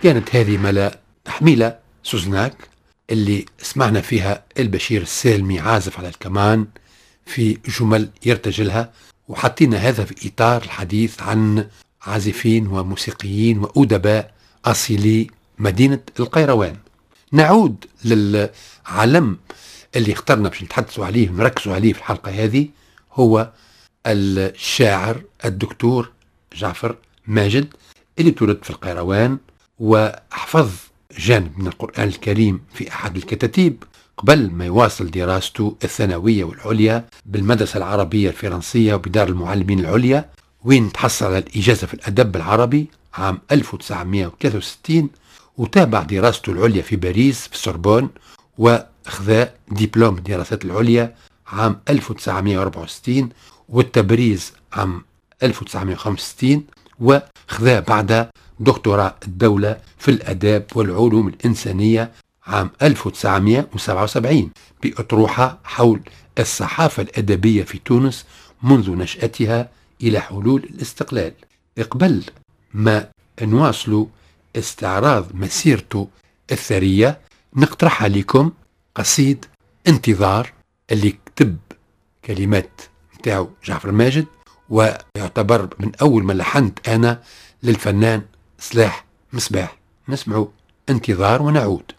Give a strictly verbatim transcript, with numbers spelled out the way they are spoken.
كانت هذه ملا تحميلة سوزناك اللي سمعنا فيها البشير السالمي عازف على الكمان في جمل يرتجلها، وحطينا هذا في إطار الحديث عن عازفين وموسيقيين وأدباء أصيلي مدينة القيروان. نعود للعلم اللي اخترنا باش نتحدثوا عليه ونركزوا عليه في الحلقة هذه، هو الشاعر الدكتور جعفر ماجد اللي تولد في القيروان وحفظ جانب من القرآن الكريم في أحد الكتاتيب قبل ما يواصل دراسته الثانوية والعليا بالمدرسة العربية الفرنسية وبدار المعلمين العليا، وين تحصل على الإجازة في الأدب العربي عام ألف وتسعمائة وثلاثة وستين، وتابع دراسته العليا في باريس في السوربون، وأخذ دبلوم الدراسات العليا عام ألف وتسعمائة وأربعة وستين والتبريز عام ألف وتسعمائة وخمسة وستين، وخذا بعد دكتوراه الدولة في الأداب والعلوم الإنسانية عام ألف وتسعمائة وسبعة وسبعين بأطروحة حول الصحافة الأدبية في تونس منذ نشأتها إلى حلول الاستقلال. قبل ما نواصلوا استعراض مسيرته الثرية نقترح عليكم قصيد انتظار اللي كتب كلمات نتاعو جعفر ماجد، ويعتبر من أول ما لحنت أنا للفنان صلاح مصباح. نسمعوا انتظار ونعود.